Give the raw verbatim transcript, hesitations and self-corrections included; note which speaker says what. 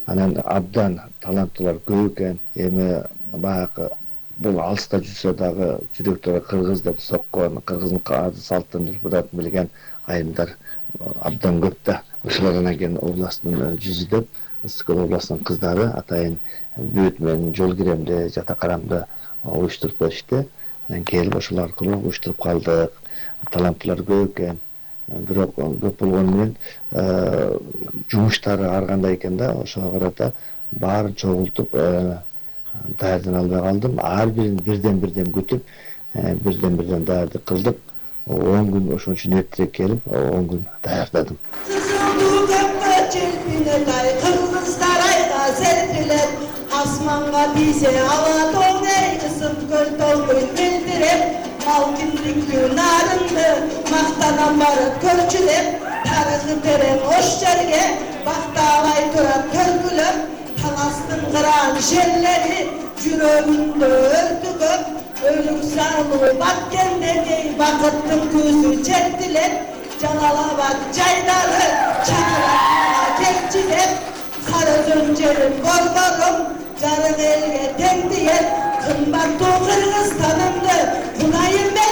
Speaker 1: Анан абдан таланттуулар көп экен. Эми баягы бул алыста жүрсө дагы жүрөктөрү кыргыз деп соккон, кыргыздын ады салттын урпун билген айымдар абдан көп да. Ошолор анан кийин областтын жүзү деп Ысык Көл областынын кыздары атайын бүт менен жол киремди, жата карамды уюштуруп беришти. Анан келип ошол аркылуу уюштуруп калдык. Таланттуулар көп экен. Бирок көп болгону менен жумуштары ар кандай экен да, ошого карата баарын чогултуп даярдана албай калдым. Ар бирин бирден бирден күтүп, бирден бирден даярдык кылдык. он күн ошон үчүн эртерээк келип, он күн даярдадым.
Speaker 2: Кыргыздар айга серпилет, асманга тийсе ала тоң, Ысык Көл тоңой мелдиреп, малкиндиктүү нарынды мактанам барып көрчүлөп, тарыхы терең ош жерге бактабай турат көргүлөп, таластын кыран жерлери жүрөгүндө өртүгөп, өлүк сагынуу баткендеги бакыттын көзү чертилет, Жалал-Абад жайдары чакырат кекчилеп, Сары Өзөн жерин коргорум, жарык элге тең диет, кымбаттуу Кыргызстанымды кунайым